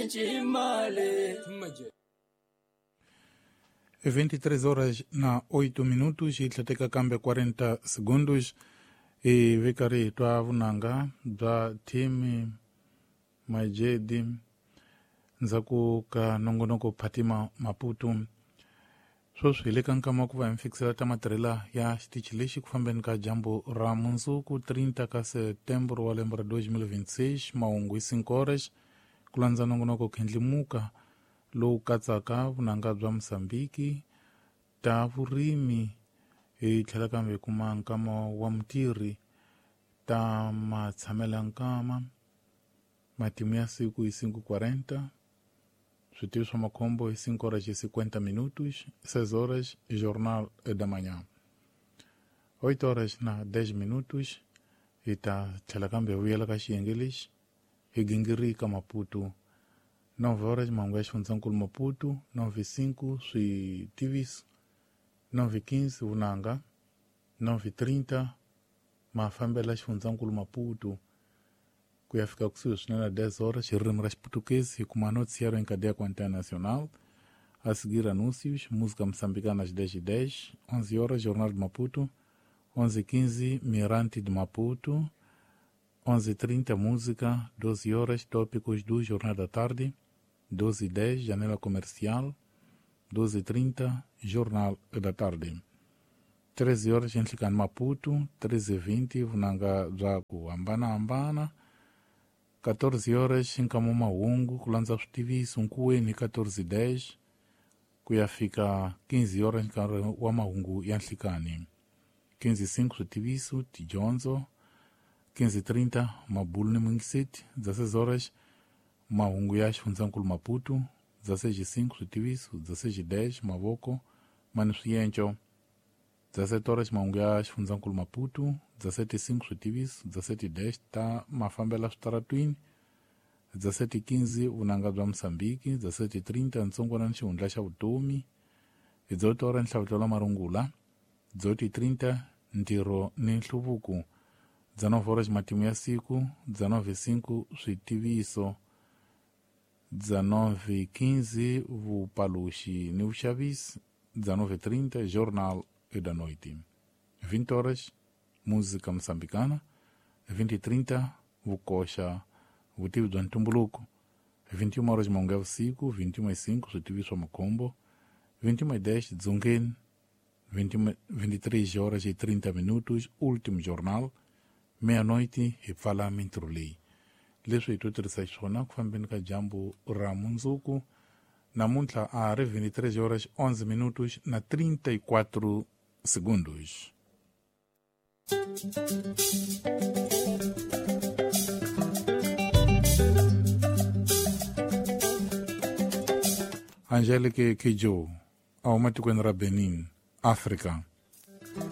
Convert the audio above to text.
Chimale. 23 horas na 8 minutos e tlheteka kambe 40 segundos e vikari hi twa vunanga bya thimi Majedi ndzhaku ka nongonoko Fatima Maputo. Sweswi hi le ka nkama ku va hi mi fikisela ta matirhela ya xitichi lexi ku fambeni ka dyambu ra mundzuku 30 ka setembro wa lembe ra 2026 mahungu hi 5 horas ku landza nongonoko Khendlimuka lowu katsaka vunanga bya Mosambiki ta vurimi hi tlhela kambe hi kuma nkama wa mutirhi ta matshamela nkama matimu ya siku hi 5:40 switivi swa makhombo hi 5 horas e 50 minutos 6 horas jornal da manhã 8 horas na 10 minutos hi ta tlhela kambe hi vuyela ka xiyenge lexi hi gingirika Maputo 9 horas mahungu ya xifundzankulu Maputo 9:05 switiviso 9:15 vunanga 9:30 mafambela xifundzankulu Maputo ku ya fika kusuhi swinene na 10 horas hi ririmi ra Xiputukezi hi kuma noticiário em cadeia com antena nacional a seguir anúncios música moçambicana às 10:10 11 horas Jornal de Maputo 11:15 Mirante de Maputo 11:30 música 12 horas tópicos do Jornal da Tarde 12:10 Janela Comercial 12:30 Jornal da Tarde 13 horas Enhlikani Maputo 13:20 vunanga bya ku hambanahambana 14 horas nkamo mahungu ku landza switiviso nkuweni 14:10 ku ya fika 15 horas nkarhi wa mahungu ya nhlikani 15:05 switiviso tidyondzo 15:30 mabulu ni mungiseti 16 horas mahungu ya xifundzankulu Maputo 16:05 switiviso 16:10 mavoko mani swienco 17 horas mahungu ya xifundzankulu Maputo 17:05 switiviso 17:10 ta mafambela switaratwini 17:15 vunanga bya Mosambiki 17:30 ntsongwana ni xihundla xa vutomi hi 18 horas nhlavutelo wa marungula 18:30 ntirho ni nhluvuko 19 horas matimu ya siku 19:05 switiviso 19:15 vupaluxi ni vuxavisi 19:30 Jornal da Noite 20 horas música moçambicana 20:30 vukoxa vutivi bya ntumbuluko 21 horas mahungu ya vusiku 21:05 switiviso swa makhombo 21:10 dzongeni 23 horas e 30 minutos último jornal meia-noite hi pfala mintirho leyi leswi hi to tirhisa xiswona ku fambeni ka dyambu ra mundzuku namuntlha a ri 23 horas 11 minutos na 34 segundos. Angelique Kidjo a huma tikweni ra Benin, Africa.